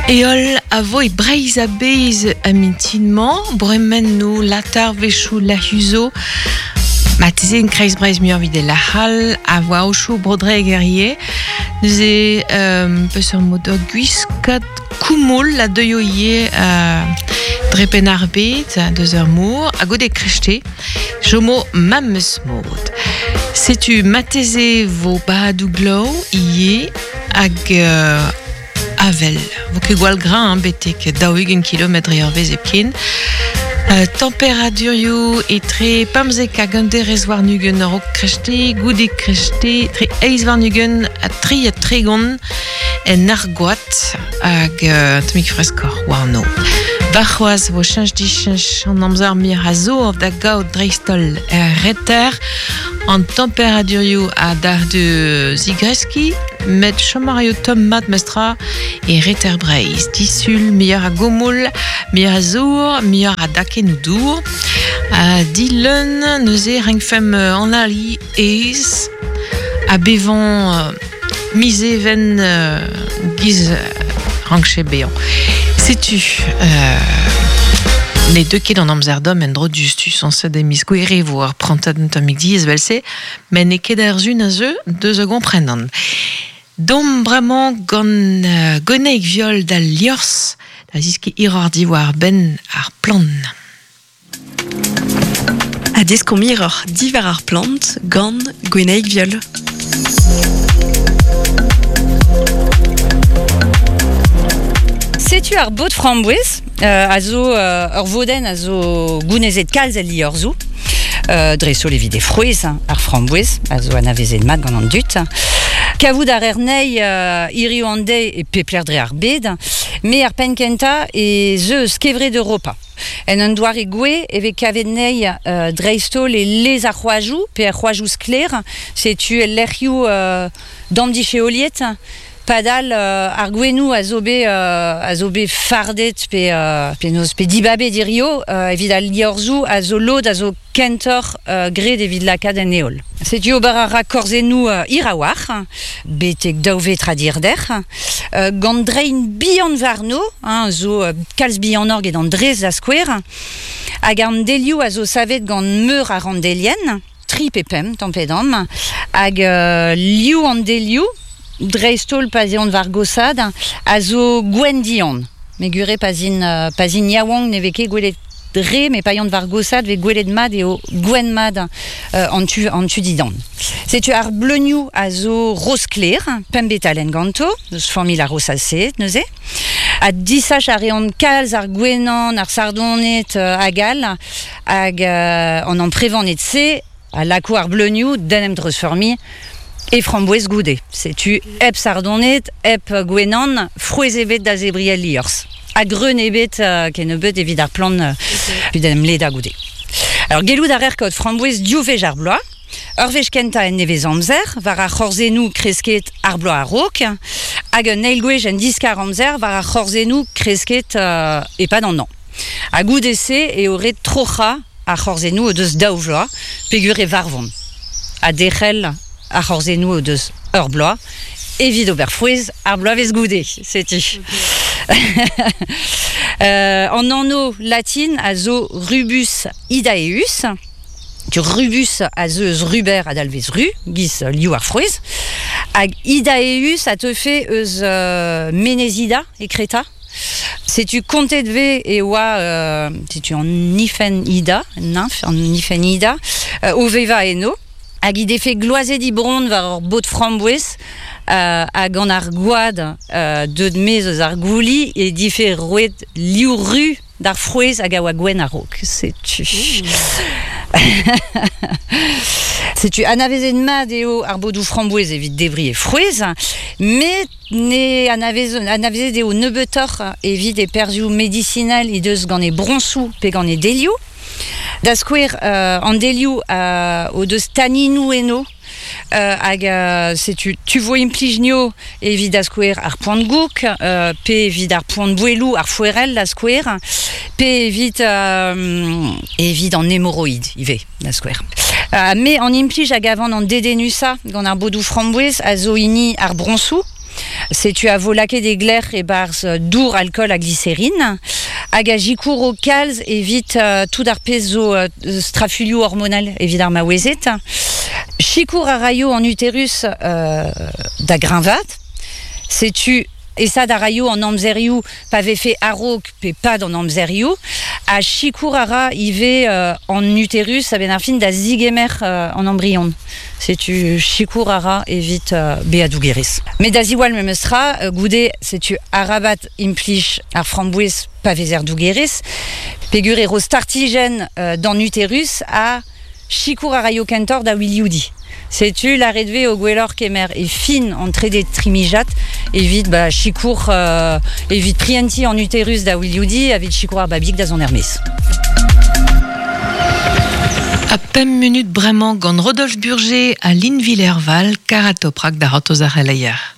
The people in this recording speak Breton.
Heol a vo e Breizh a-bezh a mintin-mañ, bremennoù, latar wechoù lac'huzo, marteze en kreiz Breizh muioc'h evit e lac'hal, a voa aochoù Bro-Dreger ivez. Neuze, euh, peseurt mod ur gwiskad koumoul a deuio ivez euh, dre penn ar bed, deus ur mor, ha goude krechte, chomo memes mod. Setu marteze vo badoù glav ivez hag euh, avel. Vo ket gwall greñv betek 40 kilometr eurvezh hepken. Euh, temperadurioù etre 15 hag un derez warn-ugent a-raok krechte, goude krechte, tre eizh warn-ugent ha tri ha tregont en Argoad hag euh, un tammig freskoc'h warno. Warc'hoazh vo cheñch-dicheñch an amzer mir a zo da gaout dreist-holl er reter. An temperadurioù a dar de zigreskiñ, met chom a raio tomm mat mestra e reter Breizh. Disul, muioc'h a goumoul, muioc'h a zour, muioc'h a dakennoù dour. Ha dileun, neuze renkfemp analiñ aes ha bevañ miz Even giz rankche bezañ. Setu ne deu ket an amzer domm en-dro diouzhtu sañset e miz Gouere e vo ar prantad un tammig diaes evel-se, met n'eo ket ar sun a zeu deus a gomprenan. Domp bremañ gant Gwenaig Viol d'al liorzh da zeskiñ hiroc'h diwar-benn ar plant. Ha deskomp hiroc'h diwar ar plant gant Gwenaig Viol. Setu ar bod framboez euh, a zo euh, ur vodenn a zo gounezet kalz el liorzhoù. Euh, dreist-holl evit e frouezh, ar framboez, a zo anavezet mat gant an dud. Kavout a rer nei euh, hiriv an deiz e pep lec'h dre ar bed, me ar penn kentañ ez eus kevred Europa. En un doare gouez e vez kavet anezhi dreist-holl e lez ar c'hoajoù pe er c'hoajoù sklaer, setu el lec'hioù damdisheoliet. Padal ar gouennoù a zo bet a zo bet fardet pe penaos pe dibabet hirio evit al liorzhoù a zo lod a zo kentoc'h graet evit lakaat en heol. Setu ober a ra korzennoù hir a-walc'h, betek daou vetrad hirder, gant drein bihan warno, hein, zo kalz bihanoc'h get an drez da skouer, hag an delioù a zo savet gant meur a ranndelien, tri pe pemp tamm pe damm, hag liv an delioù, dreist-holl pa 'z eont war gosad, a zo gwenn-dihan. Me gure pa 'z int, pa 'z int yaouank ne vez ket gwelet re, met pa yan war gosad vez gwelet mat eo gwenn mat an tu, an tu didan. Setu ar bleunioù a zo roz-sklaer, pemp betalenn ganto, eus familh ar rosacées neuze. Ha disach a reont kalz ar gwenan, ar sardoned hag all, hag an amprevaned-se a lako ar bleunioù d'en em dreuzfeurmiñ e framboez goude. Setu hep sardoned, hep gwenan, frouezh ebet da zebriñ el liorzh. Ha greun ebet kennebeut evit ar plant evit en em ledañ goude. Alors gellout a rer kaout framboez div wech ar bloaz. Ur wech kentañ en nevez-amzer, war ar c'horzennoù kresket ar bloaz a-raok, hag un eil gwech en diskar-amzer war ar c'horzennoù kresket e-pad an hañv. Ha goude-se eo ret troc'hañ ar c'horzennoù o deus daou vloaz peogwir e varvont, ha derc'hel ar c'horzennoù o deus ur bloaz evit ober frouezh ar bloavezh goude, setu. An anv latin a zo Rubus idaeus. Rubus a zeu eus ruber a dalvez ru, giz liv ar frouezh, hag idaeus a teufe eus Menez Ida e Kreta. Setu kontet vez e oa setu an Nifen Ida, nymph an Nifen Ida, o vevañ eno, hag he defe gloazet he bronn war ur bod framboez, ha gant ar gwad deuet maez eus ar gouli he dife roet liv ru d'ar frouezh hag a oa gwenn a-raok. Setu. Setu anavezet mat eo ar bodoù framboez evit debriñ e frouezh, met Ne anavezet eo nebeutoc'h evit e perzhioù medisinal he deus gant he broñsoù pe gant he delioù. Da skouer, an delioù o deus taninoù eno hag setu tu vo implij nio evit da skouer ar poan-goûg pe evit ar poan-bouelloù, ar foerell da skouer, pe evit evit an hemoroid ivez da skouer. Me an implij a gavan an dedennusañ gant ar bodoù framboez a zo hini ar broñsoù. Setu a vo lakaet e glec'h e-barzh dour alkool ha gliserine hag a sikouro kalz evit tout ar pezh zo strafulioù hormonal evit ar maouezed. Sikour a raio an uterus da greñvaat. Setu Aesaat a raio an amzerioù pa vefe a-raok pe pad an amzerioù ha sikour a ra ivez an uterus a-benn ar fin da zigemer an embrion. Setu sikour a ra evit bezañ dougerez. Met da ziwall memes tra, goude setu arabat implij ar framboez pa vezer dougerez peogwir e ro startijenn d'an uterus ha Sikour a raio kentoc'h da wilioudiñ. Setu lâret 'vez eo gwelloc'h kemer e fin an trede trimijad evit ba, sikour evit prientiñ an uterus da wilioudiñ evit sikour ar babig da zont er-maez. Ha pemp munut bremañ gant Rodolphe Burger ha Lynn Villerval, Karatoprak da c'hortoz ar c'heleier.